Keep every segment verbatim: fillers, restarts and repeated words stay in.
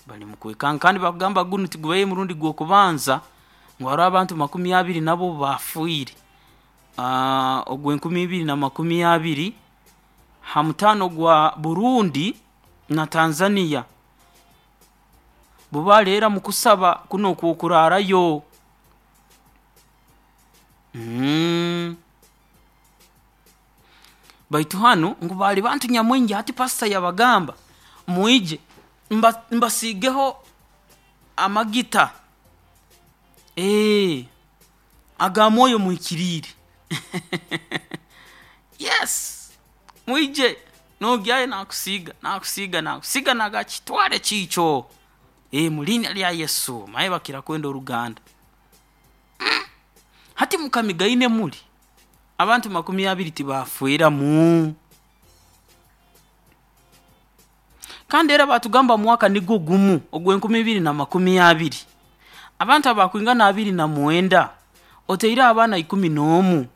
Bali mukwekanga kandi bakugamba gunu tigubaire murundi gw'okubanza ngu haroho abantu makumi abiri nabo baafiire ogw'enkumi ibiri na makumi abiri ha mutaano gwa Burundi na Tanzania bo baali era mukusaba kunu okw'okuraarayo. Baitu hanu ngu baali bantu nyamwingi, hati pastor yabagamba mwije mba mbasiigeho amagita ee aga Mwoyo Muhikiriire. Yes, mwije noogyayo naakusiiga naakusiiga naakusiiga naagamba kitwale kiikyo, ee mu liinya lya Yesu, omanyire bakira kwenda oruganda. Hati mukamigaine muli, abantu makumi abiri tibaafweramu? Kandi era baatugamba mu mwaka nugwo gumu ogw'enkumi ibiri na makumi abiri, abantu abakwingana abiri na mwenda otaireho abaana ikumi n'omu,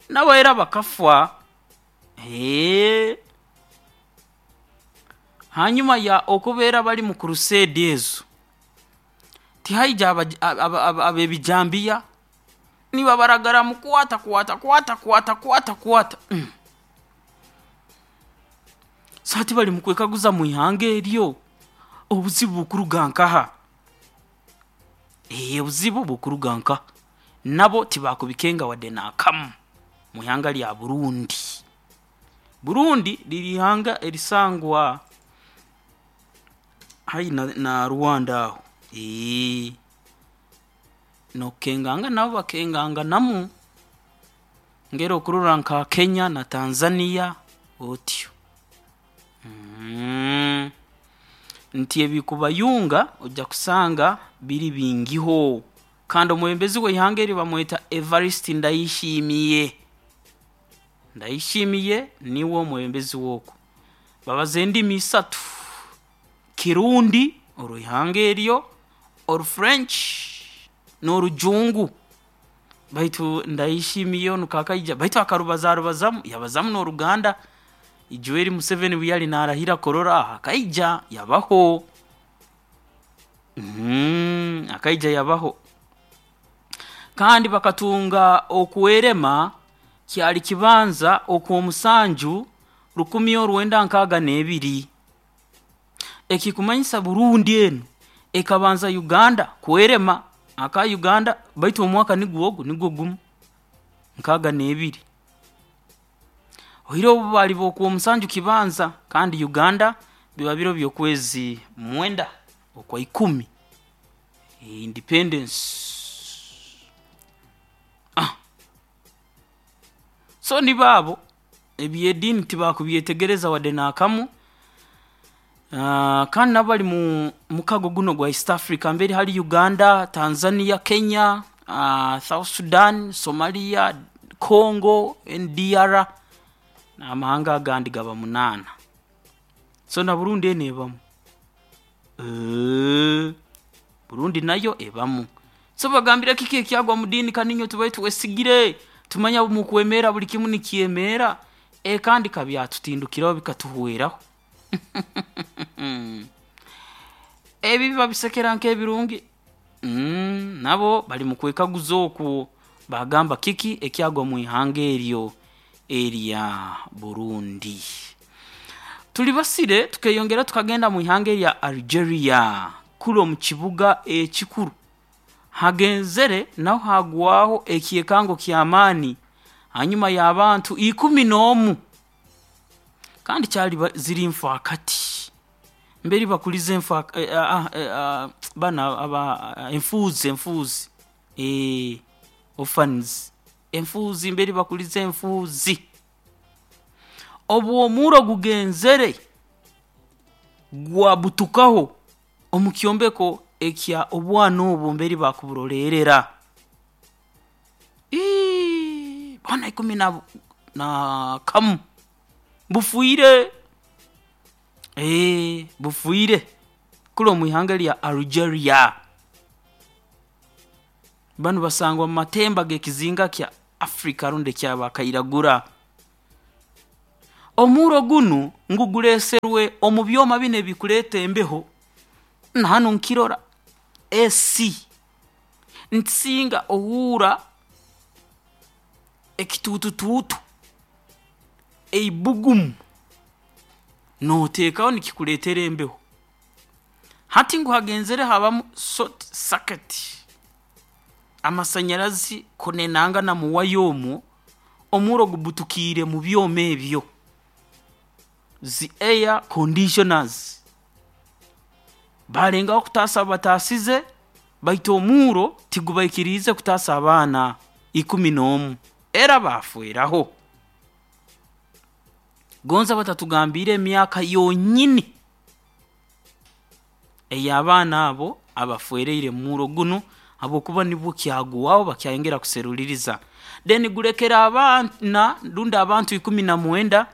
nabo era bakafa, eeh. Hanyuma ya okubeera bali mu crusade ezo, tihaija ab'ebijambiya nibabaragaramu kwata kwata kwata kwata kwata kwata mmh, so hati bali mukwekaguza mwihanga eryo, obuzibu bukuruga nkaha? Eeh obuzibu bukuruga nkaha? Nabo tibakubikenga wadde n'akamu mwihanga lya Burundi. Burundi liri ihanga erisangwa haihi na na Rwanda aho, eeh, n'okukengangana nabo bakenganganamu ngeri okurora nka Kenya na Tanzania otyo. Nti ebikubayunga oija kusanga biri bingiho kandi omwebembezi w'ihanga eri bamweta Evariste Ndayishimiye, Ndayishimiye niwe mwebembezi w'oku, babaza endimi isatu: Kirundi orw'ihanga eryo, oru French n'Orujungu, baitu Ndayishimiye onu kaakaija baitu akarubaza arubazaamu yabazaamu n'Oruganda, ijweri Museveni obu yali naarahira kurora akaija yabaho, akaija yabaho. Kandi bakatunga okwerema kyali kibanza Okw'omusanju rukumi orwenda nkaaga n'ebiri, ekikumanyisa Burundi enu ekabanza Uganda kwerema, aka Uganda baitu omwaka nugwo ogu nugwo gumu nkaaga n'ebiri, oihireho bo baali b'Okwomusanju kibanza kandi Uganda biba biro by'okwezi mwenda Okwaikumi, independence. So nibo abo, eby'ediini tibakubyetegereza wadde n'akamu, kandi nabo bali mu mukago gunu ogwa East Africa mbere hali Uganda, Tanzania, Kenya, South Sudan, Somalia, Congo NDR n'amahanga agandi gaba munaana, so na Burundi enu ebamu, Burundi nayo ebamu. So bagambire kiki ekyagwa mu diini kandi inywe tubaire twesigire, tumanya obu mukwemeera buli kimu nikyemeera, ee kandi kabyatutindukiraho bikatuhweraho. Ebibi babisekera nk'ebirungi, nabo bali mukwekaguza oku baagamba kiki ekyagwa mwihanga eryo erya Burundi. Tulibasire tukeeyongerayo tukagenda mwihanga erya Algeria, kunu omu kibuga ekikuru hagenzere naho haagwaho ekyekango ky'amaani hanyuma y'abantu ikumi n'omu, kandi kyali ziri nfaakati, mbere bakuliza enfa banu aba enfuuzi enfuuzi orphans, enfuuzi mbere bakuliza enfuuzi, obu omurro gugenzere gwabutukaho omu kyombeko ekya obwana obu mbere bakuburoleerra, iii boona ikumi na na kamu bufiire, ee bufiire kunu omwihanga erya Algeria. Banu basangwa mumatemba g'ekizinga kya Africa rundi eky'abakairagura. Omuro gunu ngu guleeserwe omu byoma binu ebikuleeta embeho, na hanu nkirora A C, nti singa ohuura ekituututuutu, eibbugumu, nooteekaho nikikuleetera embeho. Hati ngu hagenzere habamu short circuit, amasanyarazi kunenangana mu waya omwo, omurro gubutukiire mu byoma ebyo, zi air conditioners. Baalengaho kutaasa abu bataasize baitu omurro tigubaikiriize kutaasa abaana ikumi n'omu, era baafeeraho. Gonza batatugambiire emyaka yonyini ey'abaana abo abaferiire mu murro gunu habwokuba nibwo kyagwaho bakyayongera kuseruliiriza. Then gulekere abaana rundi abantu ikumi na mwenda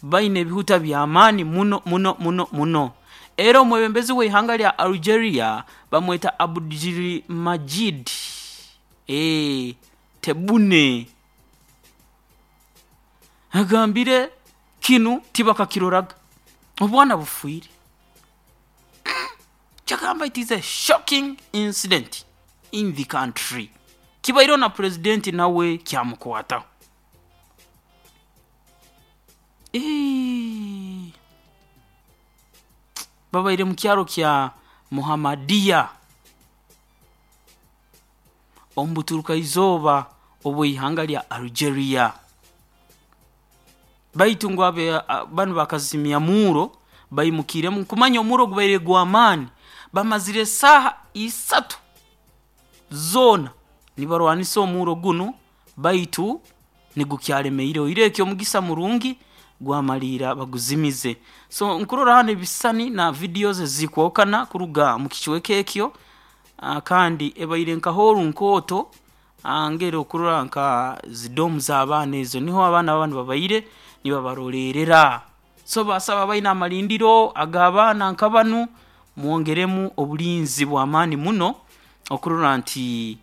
baine ebihuta by'amaani muno muno muno muno. Era omwebembezi w'ihanga lya Algeria bamweta Abdelmadjid ee Tebboune agambire kinu tibakakiroraga, obwana bufiire. Kyagamba it is a shocking incident in the country. Kibaireho na purezidenti nawe kyamukwataho. Eeeh, babaire mu kyaro kya Mohammedia omu buturukaizooba obw'ihanga lya Algeria. Baitu ngu abe banu bakazimya murro baimukiiremu, kumanya omurro gubaire gw'amaani, bamazire esaaha isatu zoona nibarwanisa omurro gunu baitu nigukyalemerireho, oihireho eky'omugisa murungi gwamalirra baguzimize. So nkurora hanu ebisisani na videos ezikwahukana kuruga mu kicweka ekyo, kandi ebaire nka hall nkooto, ngeri okurora nka zi dorm z'abaana ezo, niho abaana banu babaire nibabaroleerera. So baasaba abaine amalindiro ag'abaana nka banu, mwongeremu obulinzi bw'amaani muno okurora nti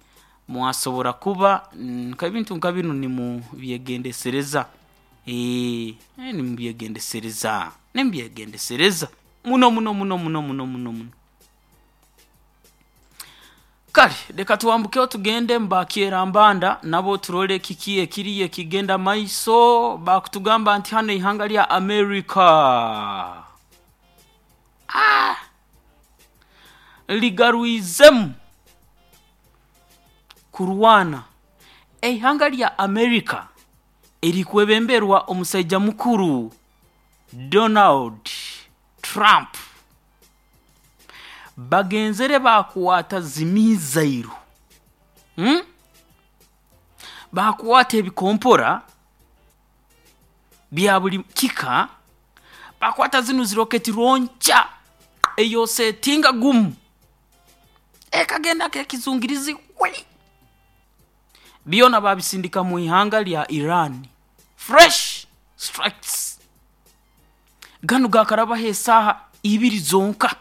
mwasobora kuba nk'ebintu nka binu nimubyegendesereza, eeh nimubyegendesereza, nimubyegendesereza muno muno muno muno muno muno muno. Kale leka twambukeho tugende mu bakyera mbanda nabo turole kiki ekiriyo ekigenda mumaiso. Bakutugamba nti hanu eihanga lya America aah ligarwizemu kurwana. Eihanga lya America erikwebemberwa omusaija mukuru Donald Trump bagenzere baakwata zi missile, hmm, baakwata ebikompora bya buli kika, baakwata zinu zi rocket launcher ei osetinga gumu ekagenda nk'ekizungirizi hwi! Byona baabisindika mu ihanga lya Iran, fresh strikes. Ganu gaakarabaho esaaha ibiri zonka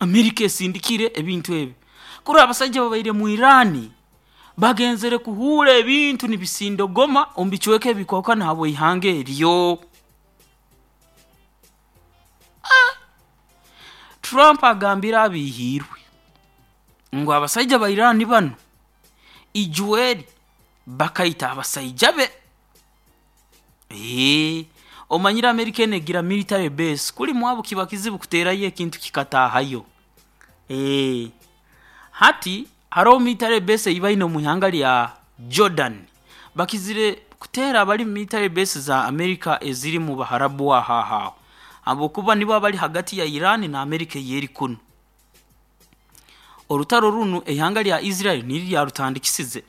America esindikire ebintu ebi. Kurora abasaija ababaire mu Iran bagenzere kuhuura ebintu nibisindogoma omu bicweka ebikwahukana habw'ihanga eryo. Aah! Trump agambire abiihiirwe ngu abasaija ba Iran banu ijweri bakaita abasaija be. Eeh, omanyire America enu egira military base, kuli mwabu kiba kizibu kuteerayo ekintu kikataahayo. Eeh, hati haroho military base ei baine omu ihanga lya Jordan, bakizire kuteera abali mu military base za America eziri mu Baharabu aho aho aho habwokuba nibo abali hagati ya Iran na America ey'eri kunu. Orutaro runu eihanga lya Israel niryo lyarutandikisize,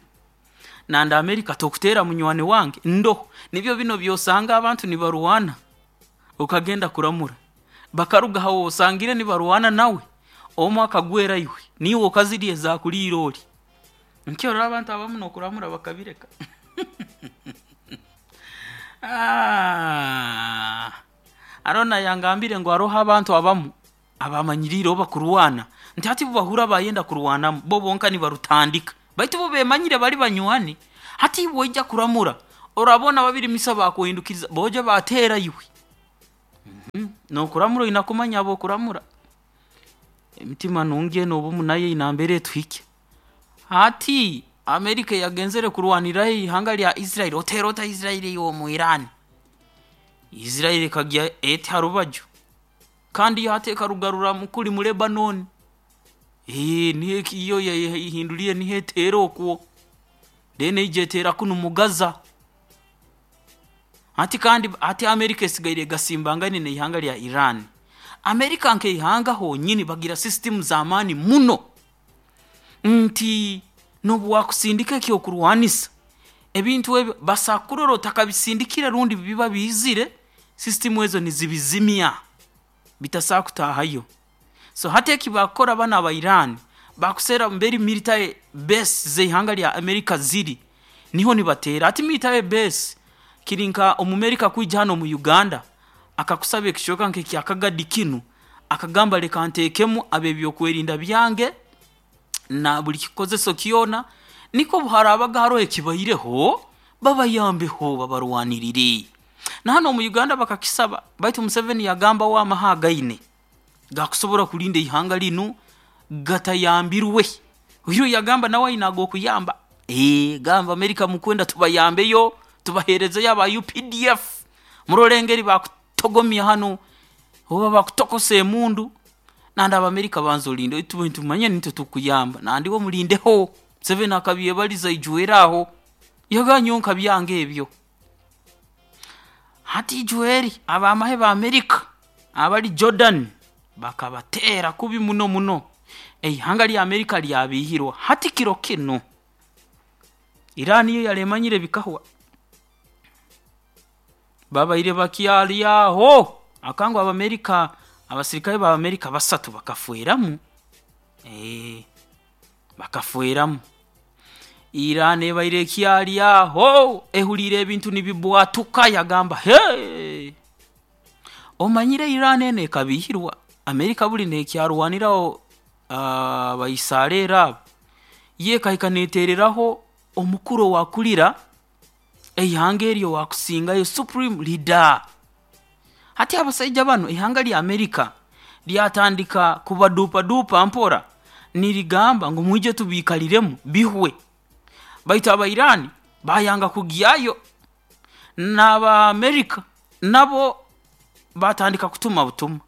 nandi America tokuteera munywani wange ndoho, nibyo binu by'osanga abantu nibarwana okagenda kuramura, bakaruga ha w'osangire nibarwana nawe, omu akagwera iwe, niiwe okazirya ezaakuliire ori. Nikyo orora abantu abamu n'okuramura bakabireka. Aah, haroho n'ayangambire ngu haroho abantu abamu abamanyiriire obu bakurwana, nti hati obu bahurra bayenda kurwanamu, bo bonka nibarutandika baitu bo beemanyire bali banywani. Hati iwe oija kuramura Orabona babiri misa bakuhindukiriza boja batera iwe. Mm -hmm. Nokuramura inakumanya abo kuramura. Emitima nungi n'obumu nayo inambere tuhike. Hati Amerika yagenzere kurwanira ihanga lya Israel, oterota Israel yo mu Iran. Israel kagya eti harubaju. Kandi yateka rugarura mukuli mu Lebanon. Eh nihe kiyo yahinduliye nihe tero okwo. Dene ijetera kuno mu Gaza. Ati kandi ati Amerika esigaire gasimbangane ne ihanga lya Iran. Amerika nke ihanga honyini bagira system za amani muno. Nti nobu wakusindika ekyo kurwanisa ebintu ebyo basakuroro takabisindikira rundi biba bizire system ezo nizibizimya bitasakutahayo. So hata ekibakora bana aba Iran bakusera mberi military base zeihanga lya Amerika ziri niho nibatera. Ati military base kirinka omumerika kwija hano mu Uganda akakusaba ekishoka nke kyakagadi kinu akagamba leka ntekemu abebyokwerinda byange na buli kikozeso kyona niko buharabaga haro ekibaireho babayambeho babarwanirire. Na hano mu Uganda bakakisaba baitu Museveni yagamba wa mahagaine gakusobora kulinda ihanga linu gatayambirwe. Uyu yagamba nawe inago kuyamba eh gamba Amerika mukwenda tubayambeyo tubahereze yaba U P D F murolengeri bakutogomya hano oba bakutokose emundu. Nanda Amerika banzo linde tumanye nito tukuyamba nandi wo mulindeho. Museveni akabyebaliza ijueraho yaganyonka byange ebyo. Hati ijueri abamahe ba Amerika abali Jordan bakabatera kubi muno muno. Eihanga lya Amerika lyabihirwa. Hati kiro kino Iran yo yalemanyire bikahwa babaire bakyalyaho akango Abamerika abasirikare ba Amerika basatu bakafueramu. Eh bakafueramu. Iran ebaire kyalyaho ehulire ebintu nibibwatuka yagamba he omanyire Iran ene kabihirwa. Amerika buli nekyarwaniraho abaisarera uh, ye kahika netereraho omukuru wakulira eihanga eryo wakusingayo supreme leader. Hati abasajja bano ihanga lya Amerika lyatandika kubadupa dupa mpora nirigamba ngo mwije tubikaliremu bihwe. Baitu aba Iran bayanga kugiyayo n'aba Amerika nabo batandika kutuma butuma.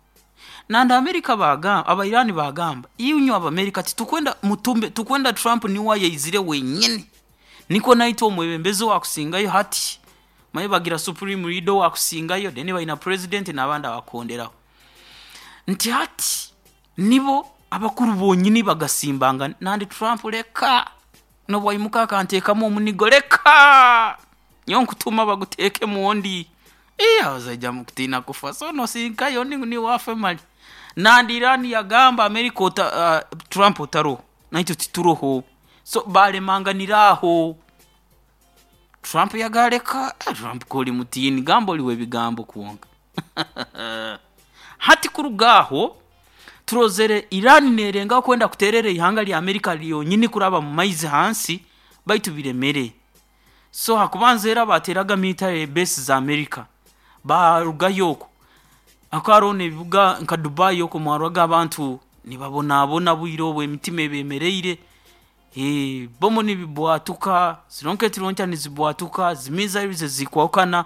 Nanda Amerika bagamba aba Iran bagamba iunyo aba Amerika titukwenda mutumbe tukwenda Trump ni wayeizire wenyine niko naito omwebembezi wakusingayo. Hati maye bagira supreme leader wakusingayo deni baina president nabanda bakonderaho. Nti hati nibo abakuru bonyini bagasimbanga nandi Trump leka no bwayimuka akantekamu omunigo leka nyonkutuma baguteke muondi iya azaja mukutina kufa so no sinkayo ni ni wafe mali. Nandi Iran yagamba Amerika ota, uh, Trump otaro naito tituroho so balemanganiraho. Trump yagaleka Trump koli mutini gambo liwe bigambo kuonga. Hati kurugaho turozere Iran nerenga kwenda kuterere ihanga lya Amerika lyonyini kuraba mu maizi hansi baitu biremere. So hakubanza era bateraga military base za Amerika barugayoko akarone bibuga nka Dubai yoko mwarwaga abantu nibabona bwiro obwe emitima ebemereire. Eh bomo nibibwatuka zironketi roncha nizibwatuka zimiza ibize zikwakana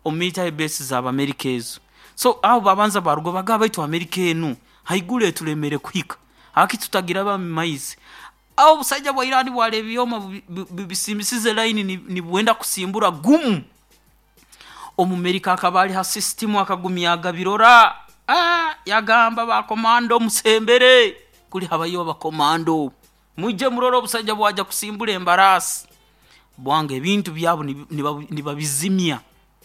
o military base za Amerika ezo. So aho babanza barugo bagaba baitu Amerika enu haigule tulemere kuhika haki tutagira ba maizi. Aho busajja bwa Iran bwalebyoma bisimbisize line ni bwenda kusimbura gumu. Omumerika akabali ha system akagumyaga birora ah yagamba ba komando musembere kuli habayo ba komando muje muroro obusajja bwaja kusimbura embarasi bwange ebintu byabo nibabizimya.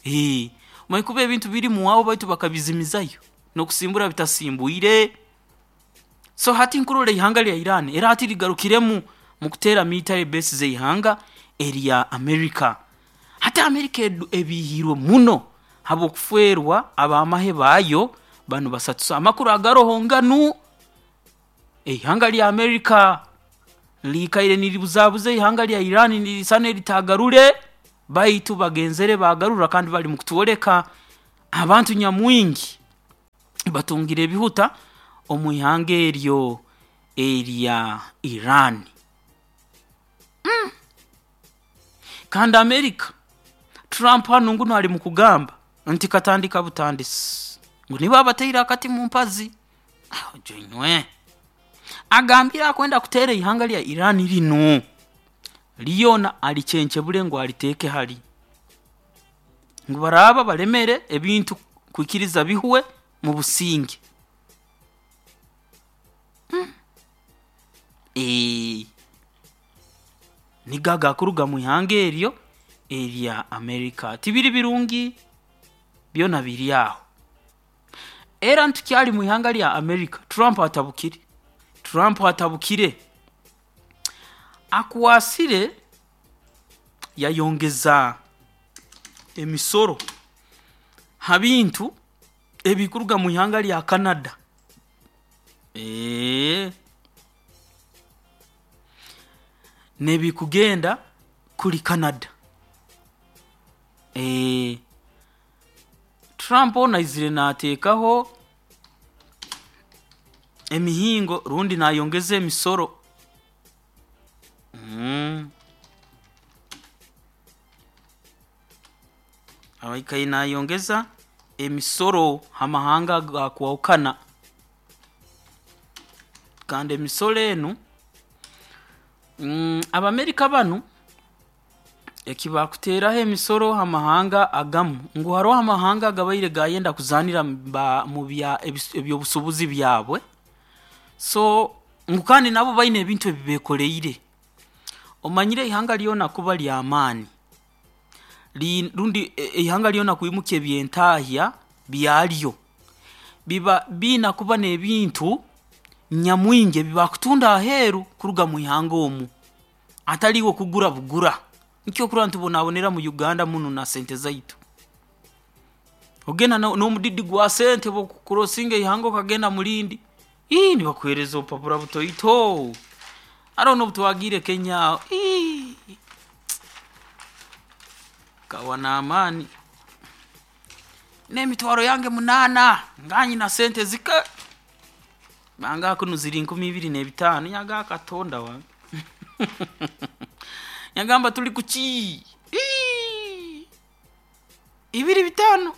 Eh mwikuba ebintu biri muwabo baitu bakabizimizayo no kusimbura bitasimbuire. So hati nkurole ihanga lya Iran era hati ligarukiremu mu kutera military base ze ihanga erya Amerika. Hati Amerika ebihirwe muno habo kuferwa abamahe bayo bano basatu. Amakuru agaroho nganu ihanga lya Amerika likaire nilibuzabuze ihanga lya Iran nilisane litagarure. Baitu bagenzere bagarura kandi bali mukutwoleka abantu nyamwingi batungire ebihuta omu ihanga eryo erya Iran. Mm. Kandi America, Trump hanu nguno ali mukugamba nti katandika butandisi ngu nibo abateire akati mu mpazi. Jonywe agambire akwenda kuteera ihanga lya Iran linu lyona alichenchebule ngu aliteeke hali ngu baraaba balemere ebintu kwikiriza bihwe mu businge. Mm. Eee, nigo agakuruga mu ihanga eryo erya America. Tibiri birungi byona biri aho. Era ntukyali mu ihanga lya America, Trump atabukire. Trump atabukire akwasire yayongeza emisoro ha bintu ebikuruga mu ihanga lya Canada. Eee, n'ebikugenda kuli Canada. Eee, Trump onu aizire naateekaho emihingo rundi naayongeza emisoro. Mm. Abaikaire naayongeza emisoro ha mahanga agakwahukana. Kandi emisoro enu mm, Abamerika banu eki bakuteeraho emisoro ha mahanga agamu ngu haroho amahanga agabaire gayenda kuzaanira ba- mu bya ebis- ebyobusuubuzi byabwe, so ngu kandi nabo baine ebintu ebi beekoleire. Omanyire ihanga lyona kuba ly'amaani li- rundi e- ihanga lyona kwimukya ebyentahya byaryo, biba biina kuba n'ebintu nyamwingi ebi bakutunda aheeru kuruga mu ihanga omu, atali iwe kugura bugura. Nikyo okurora ntubonabonera mu Uganda munu na sente zaitu. Ogenda n'omudidi gwa sente obu okucrossinga ihanga okagenda mu lindi, ii nibakuheereza obupapura butoito. Haroho n'obu twagiire Kenya aho, ii nkahwa n'amaani. N'emitwaro yange munaana nga nyina sente zike, bangamba kunu ziri nkumi ibiri n'ebitaano, nagamba Katonda wange nagamba tuli kuki? Ii ibiri bitaano,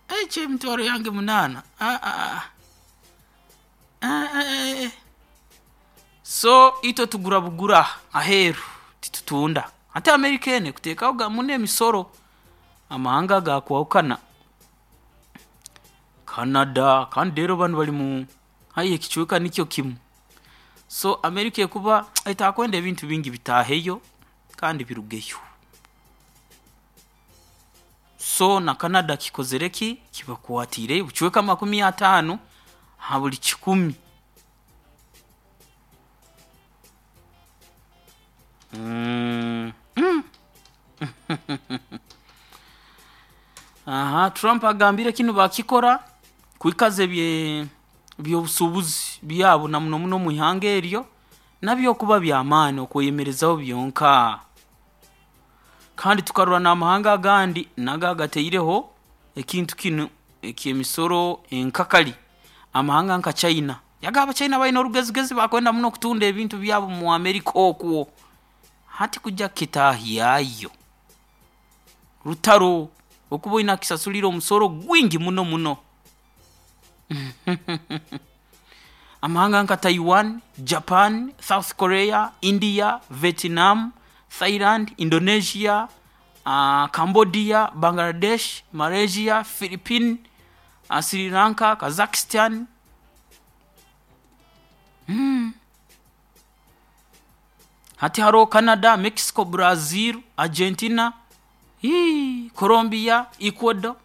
eki emitwaro yange munaana, aa aa so itwe tugura bugura aheeru titutunda. Hati America enu ekuteekaho muno emisoro amahanga agakwahukana. Canada, kandi reero banu bali mu haihi ekicweka nikyo kimu. So America ekuba etakwenda ebintu bingi bitaaheyo kandi birugeyo. So na Canada kikozere ki? Kibakwatiireyo obucweka makumi ataano ha buli kikumi. Mm. Mm. Aha, Trump agambire kinu bakikora kwikaza ebye ebyobusuubuzi byabo na muno muno omu ihanga eryo nabyo kuba by'amaani okweyemerezaho byonka. Kandi tukarora n'amahanga agandi nago agataireho ekintu kinu eky'emisoro enkakali, amahanga nka China. Yagamba Abachina baine orugezigezi bakwenda muno kutunda ebintu byabo mu America okwo. Hati kujya kukitaahyayo, rutaro okuba oina kusasulira omusoro gwingi muno muno. Amahanga nka Taiwan, Japan, South Korea, India, Vietnam, Thailand, Indonesia, uh, Cambodia, Bangladesh, Malaysia, Philippines, uh, Sri Lanka, Kazakhstan. Mm. Hati haroho Canada, Mexico, Brazil, Argentina, hii, Colombia, Ecuador,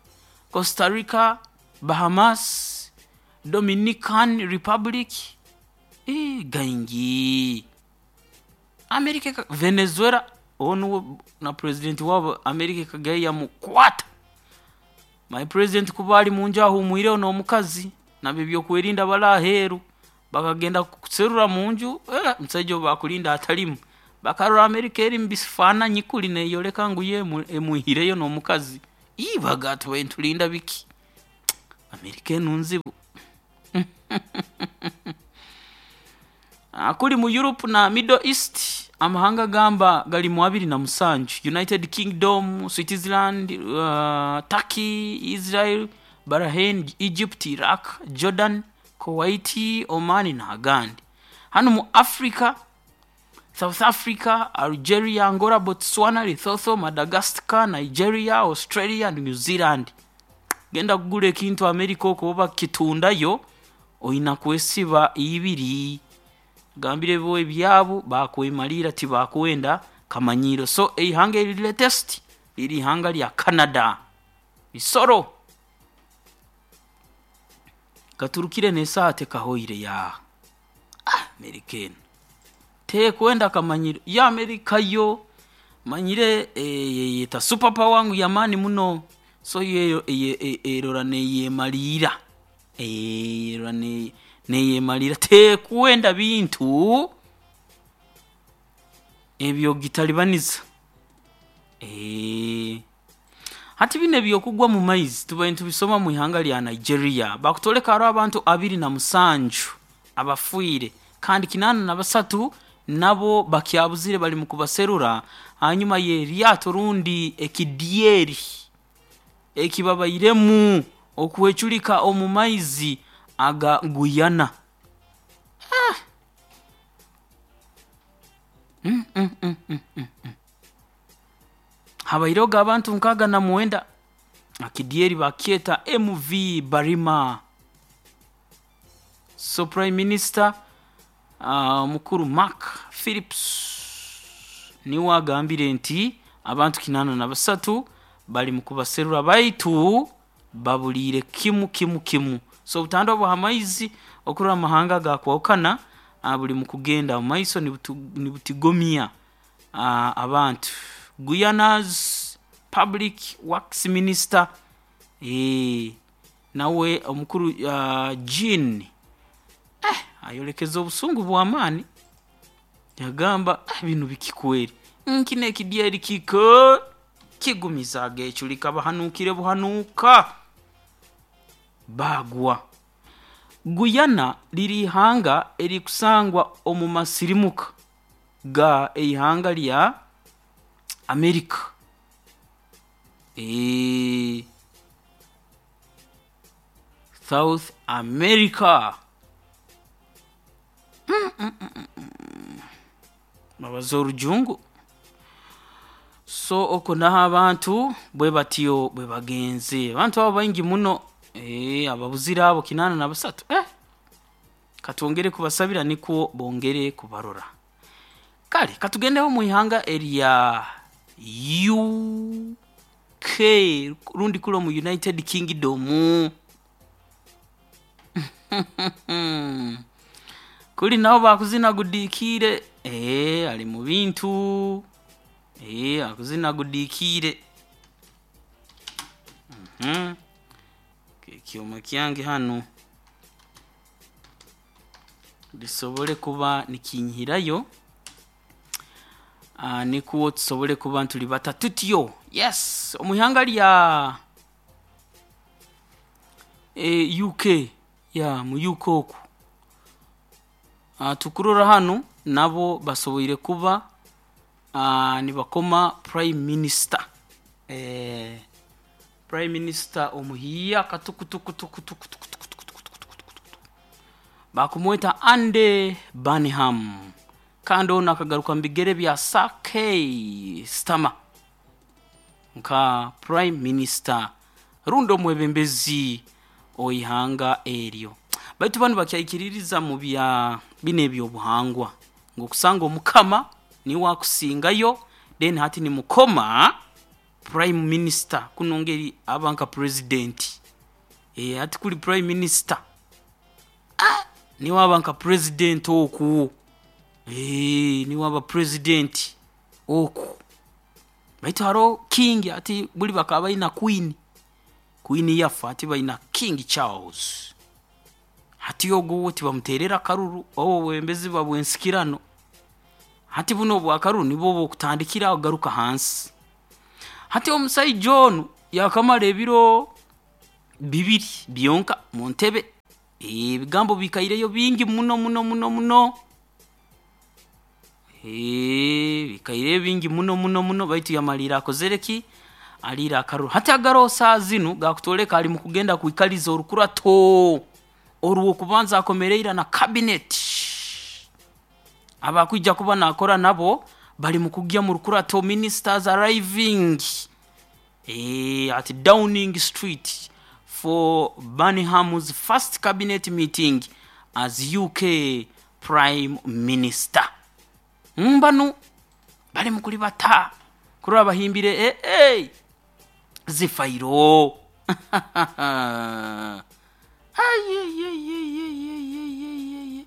Costa Rica, Bahamas, Dominican Republic, ii, gaingi. America, Venezuela, onu na president wabo America ekagayo yamukwata. My president kuba ali munju ahumwireho n'omukazi nabo ebyokwerinda bali aheeru, bakagenda kuserura munju, eh, omusaija ou bakulinda atalimu. Bakarora Amerika eri mu bifaananyi kuli neyoleka ngu ye emwihireyo n'omukazi. Ii baga tubaire nitulinda biki? Amerika enu nzibu. Kuli mu Europe na Middle East amahanga gamba gali mu abiri na musanju: United Kingdom, Switzerland, uh, Turkey, Israel, Bahrain, Egypt, Iraq, Jordan, Kuwait, Oman n'agandi. Hanu mu Africa: South Africa, Algeria, Angola, Botswana, Lesotho, Madagascar, Nigeria, Australia and New Zealand. Genda kugura ekintu America okwo oba kitundayo oina kwesiba ibiri, gambire bo ebyabo bakwemalira, tibakwenda kamanyiro. So eihanga eri latest liri ihanga lya Canada. Isoro gaturukire n'esaaha tekahoire ya ah, Amerika enu tekwenda kamanyiro ya Amerika yo manyire eyeta super power ngu yamaani muno. So yo erora neyemalira, erora neyemalira, tekwenda bintu ebyo gitalibaniza. E, hati bino ebyokugwa mu maizi tubaire nitubisoma mu ihanga lya Nigeria. Bakutoleka hariho abantu abiri na musanju abafiire kandi kinaana na basatu nabo bakyabuzire, bali mu kubaserura hanyuma y'eryato rundi ekidyeri ekibabairemu okwecurika omu maizi aga Guyana. Ah. Mm, mm, mm, mm, mm. Habaireho abantu nkaaga na mwenda. Akidyeri bakyeta M V Barima. So Prime Minister uh, mukuru Mark Phillips niwe agambire nti abantu kinaana na basatu bali mu kubaserura baitu babuliire kimu kimu kimu. So obutandwa bwa maizi okurora amahanga gakwahukana buli mu kugenda mu maiso nibutigomya uh, abantu. Guyana's Public Works Minister eh, nawe omukuru uh, Jean eh, ayolekeza obusungu bw'amaani, yagamba eh, bino bikikweri nkine ekidyeri kiko kigumiza ageculika bahanukire buhanuka bagwa. Guyana liri ihanga erikusangwa omu masirimuka ga eihanga lya Amerika. E, South America. Mm, mm, mm, mm. Babaza orujungu. So oko naho abantu bwe batyo bwe bagenze. Abantu abo baingi muno eh, ababuzira abo kinana na basatu eh. Katwongere kubasabira niko bongere kubarora. Kale katugendeho mu ihanga erya U K rundi kulo mu United Kingdom. Kuli nabo bakuzina gudikire eh, ali mu bintu eh, akuzina gudikire. Mhm. Ekyoma kyange hano lisobole kuba nikinyihirayo, uh, nikuwo tusobole kuba ntuli batatutyo. Yes, omuhanga lya e, U K ya mu U K oku uh, tukurora hano nabo basoboire kuba uh, nibakoma Prime Minister eh, Prime Minister omuhiya katukutukutukutukutukutukutukutukutukutukutu bakumweta Andy Burnham, kandi ono akagaruka mu bigere bya Sir Keir Starmer nka Prime Minister rundi omwebembezi oihanga eryo. Baitu banu bakyaikiririza mu bya bino ebyobuhangwa ng'okusanga omukama niwe akusingayo, then hati ni mukoma Prime Minister kuno ngeri aba nka president. Eh, hati kuli Prime Minister ah, niwe aba nka president oku eh, niwe aba president oku. Baitu haro king ati buli bakaba balina queen, queen yafa ati balina King Charles, hati ogwo tibamuterera karuru obo bwembezi babwensikirano. Hati buno obwakaru nibwo bwokutandikira kugaruka hansi. Hati omusaija onu yakamara ebiro bibiri byonka mu ntebe. Ebigambo bikaireyo bingi muno muno muno muno, bikaireyo bingi muno muno muno, baitu yamaliire akozere ki? Aliire akaruru. Hati agaroho saaha zinu gakutwoleka ali mukugenda kwikaliza orukurato orw'okubanza akomereire na cabinet abakwija kuba nakora nabo bali mukugya mu rukurato, ministers arriving at Downing Street for Burnham's first cabinet meeting as U K Prime Minister. Mbanu bali mukulibata kurora bahimbire eh, zifairo. Ayeyeyeyeyeyeye,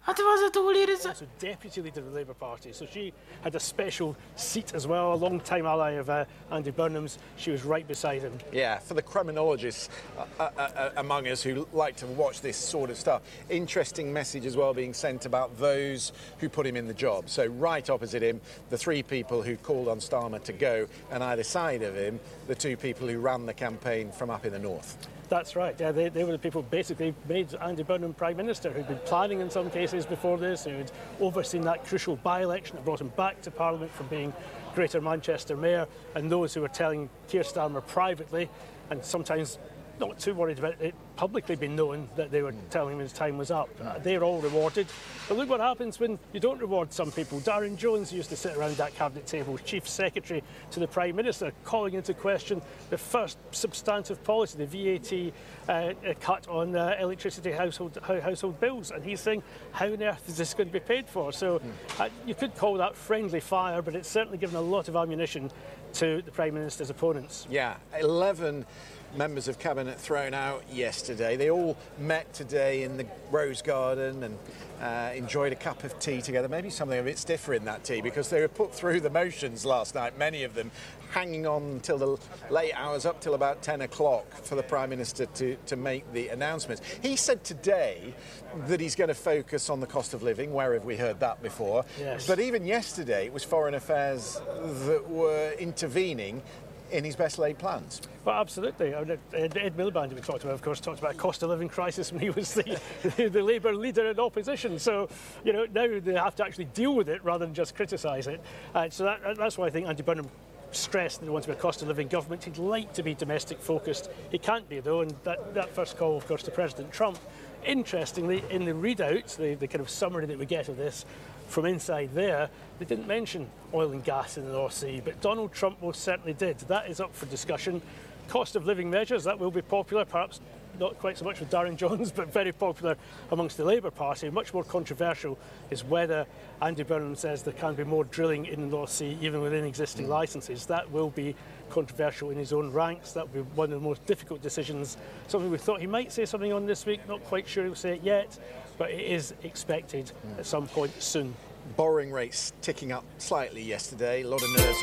ati baze tuwulirize. Also deputy leader of the Labour Party. So she had a special seat as well, a long-time ally of uh, Andy Burnham's. She was right beside him. Yeah, for the Kremlinologists uh, uh, uh, among us who like to watch this sort of stuff, interesting message as well being sent about those who put him in the job. So right opposite him, the three people who called on Starmer to go, and either side of him, the two people who ran the campaign from up in the north. That's right. Yeah, they, they were the people who basically made Andy Burnham Prime Minister, who'd been planning in some cases before this, who had overseen that crucial by-election that brought him back to Parliament from being Greater Manchester Mayor, and those who were telling Keir Starmer privately, and sometimes not too worried about it publicly being known that they were telling him his time was up. Uh, they're all rewarded. But look what happens when you don't reward some people. Darren Jones used to sit around that cabinet table, Chief Secretary to the Prime Minister, calling into question the first substantive policy, the V A T uh, uh, cut on uh, electricity household, household bills. And he's saying, how on earth is this going to be paid for? So uh, you could call that friendly fire, but it's certainly given a lot of ammunition to the Prime Minister's opponents. Yeah, eleven members of cabinet thrown out yesterday. They all met today in the Rose Garden and uh, enjoyed a cup of tea together. Maybe something a bit stiffer in that tea, because they were put through the motions last night, many of them hanging on till the late hours, up till about ten o'clock for the Prime Minister to, to make the announcements. He said today that he's going to focus on the cost of living. Where have we heard that before? Yes. But even yesterday, it was Foreign Affairs that were intervening in his best laid plans. Well, absolutely. I mean, Ed, Ed Miliband, who we talked about, of course, talked about a cost of living crisis when he was the, the, the Labour leader in opposition. So, you know, now they have to actually deal with it rather than just criticise it. Uh, so that, that's why I think Andy Burnham stressed that he wants to be a cost of living government. He'd like to be domestic focused. He can't be, though, and that, that first call, of course, to President Trump. Interestingly, in the readout, the, the kind of summary that we get of this from inside there, they didn't mention oil and gas in the North Sea, but Donald Trump most certainly did. That is up for discussion. Cost of living measures, that will be popular, perhaps not quite so much with Darren Jones, but very popular amongst the Labour Party. Much more controversial is whether Andy Burnham says there can be more drilling in the North Sea, even within existing mm. licences. That will be controversial in his own ranks. That will be one of the most difficult decisions. Something we thought he might say something on this week, not quite sure he'll say it yet, but it is expected mm. at some point soon. Borrowing rates ticking up slightly yesterday. A lot of nerves